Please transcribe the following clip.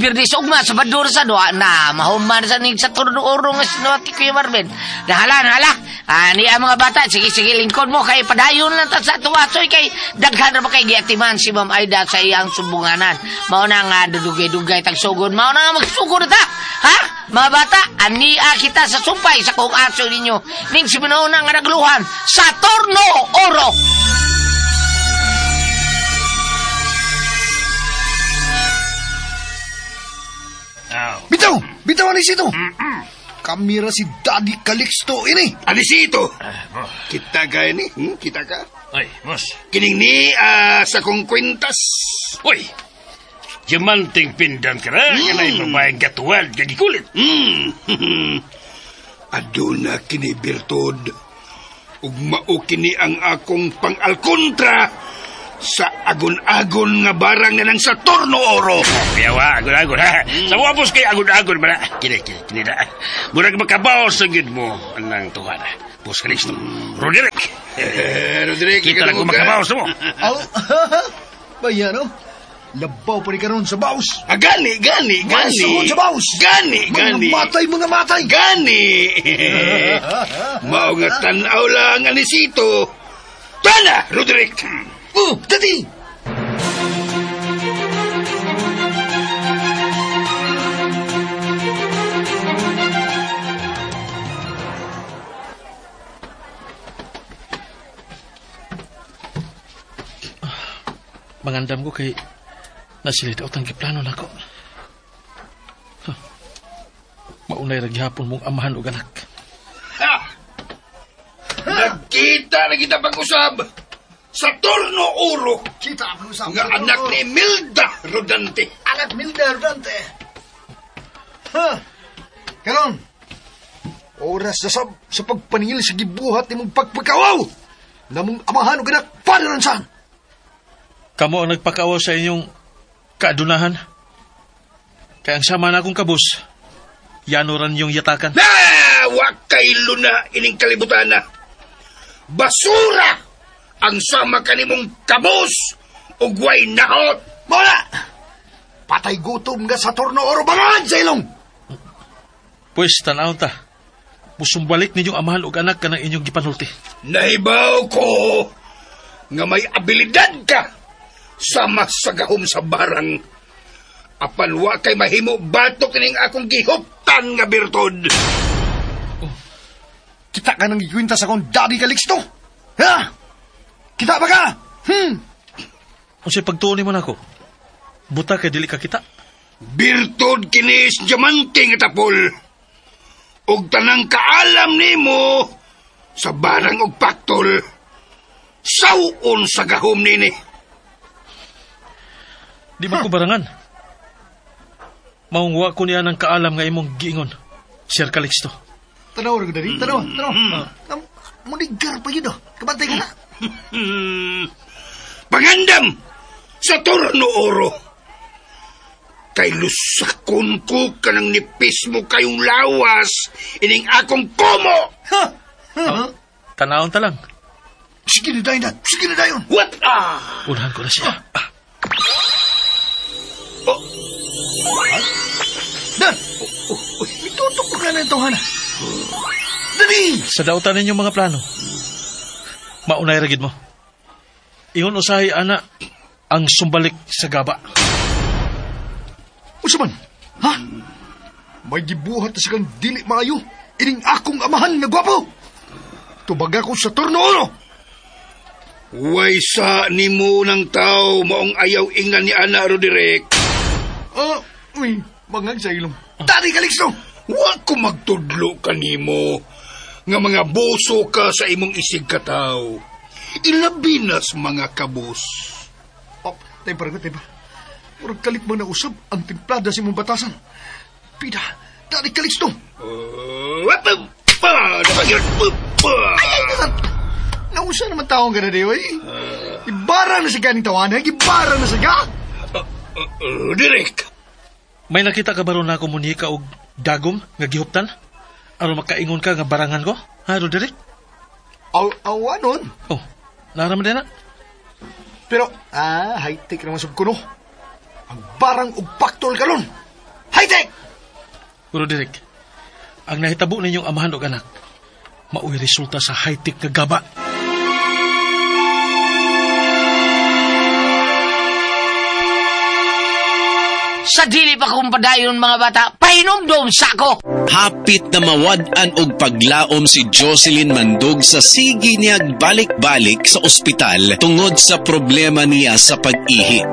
Birnis ugma sa Bador sa doa na mahuman sa ning sa turno oro nga sinuati Kuya Marvin. Nahala, nahala. Ani ang mga bata, sige sige lingkod mo kay padayon lang ta sa tuwasoy kay daghan ra ba kay giatiman si Ma'am Aida sa iyang sumbunganan. Mao na nga dugay-dugay tagsugod, mao na nga magsugod ta. Ha? Mga bata, ania kita sa sumpay sa kung aso ninyo ning si Minona nga nagluhan sa Torno Oro. Bitaw! Bitaw, Anisito! Kamira si Daddy Calixto ini. Anisito! Kita ka ini? Kita ka? Ay, boss. Kining ni sa kong kwintas. Uy! Diamanting pindan ka na, kanay babaeng katuwal, gagikulit. Aduna kini birtud. Ug mao kini ang akong pang-alkontra sa agon-agon nga barang na nang sa Torno Oro. Kuyawa, agon-agon, ha? Sa wapos kay agon-agon, ba na? Kini, kini, kini na. Murag makabaw sa gid mo, anang tuhana. Boss Calixto, Roderick. Roderick, kita lang kung makabaw sa mo. Aw, bayan, no? Labaw pa ni karon sa baos. Ah, gani, gani, gani. Masugod sa baos. Gani, gani. Mga matay, mga matay. Gani. Mao nga tan-aw lang, Anisito. Tana, Roderick. Oh, Daddy! Mangandam ko kay nasilid ang giplano nako. Huh. Maunay ra gihapon mong amahan og anak. Ha! Nagkita na kita pag-usab sa Torno Oro. Kita pag-usab. Nga anak ni Milda Rodante. Anak Milda Rodante. Ha! Karon, oras na sab sa pagpaningil sa gibuhat nimong pagpakawaw namong amahan og anak padaransan. Kamo ang nagpakawaw sa inyong kaadunahan. Kaya ang sama na akong kabus, yanoran yung yatakan. Na! Wa kay luna ining kalibutan na. Basura! Ang sama kanimong kabus ug way nahot. Mawala! Patay gutom nga sa Torno Oro bangan sa ilong! Pwes, tanaw ta. Musumbalik ninyong amahan ug anak kanang inyong gipanulti. Nahibaw ko nga may abilidad ka sama sa gahom sa barang. Apan wa kay mahimo batok ining akong gihuptan nga birtud. Oh, kita ka nang gikwinta sa akong Daddy Calixto? Ha? Kita ba ka? Unsay pagtuon nimo nako? Buta kay dili ka kita. Birtud kini sa diamante nga tapol. Ug tanang kaalam nimo sa barang og paktol. Saw-on sa gahom nini. Di ba ko barangan? Maungwa ko niya ng kaalam nga imong giingon, Sir Calixto. Tanaw ra dali, tanaw, tanaw. Munigar pa yun, oh. Kabantay ka na. Pangandam sa Torno Oro. Kay lusakon ko kanang nipis mo kayong lawas ining akong komo. Ha? Oh, tanawon ta lang. Sige na dayon, sige na dayon. What? Ah! Unahan ko na siya. Ah. Oh. Dan! Itutok ko ka na itong hana. Dali! Sa dautan ninyong mga plano, maunay ragid mo. Ingon usahay, ana, ang sumbalik sa gaba. Unsa man? Ha? May gibuhat na sigang dili maayo. Ining akong amahan nga gwapo. Tubag ako sa Torno Oro. Way sa nimo ng tao maong ayaw ingnan ni Ana Roderick. Oh, uy, bangag sa ilong. Daddy Calixto! Wa ko magtudlo kanimo nga mga boso ka sa imong isig kataw. Ilabi na sa mga kabus. Oh, tayo pa, tayo pa. Murag kalit mo na usab ang timplada sa imong batasan. Pida, Daddy Calixto! Ay, ay, ay, nausa naman taong ka na di, oy. Ibarang na siya ganing tawanan, ibarang na siya. Roderick! May nakita ka ba ron na ako munika og dagom nga gihuptan? Aron makaingon ka nga barangan ko? Ha, Roderick? Aw, aw, anon? Oh, naraman din na. Pero, high-tech naman sab kuno. Ang barang og paktol kalon. High-tech! Pero Derek, ang nahitabo ninyong amahan og anak, mao'y resulta sa high-tech nga gaba. Sa dili pa kong padayon mga bata, pahinomdom sa ako. Hapit na mawad-an og paglaom si Jocelyn Mandog sa sige niyag balik-balik sa ospital tungod sa problema niya sa pag-ihi.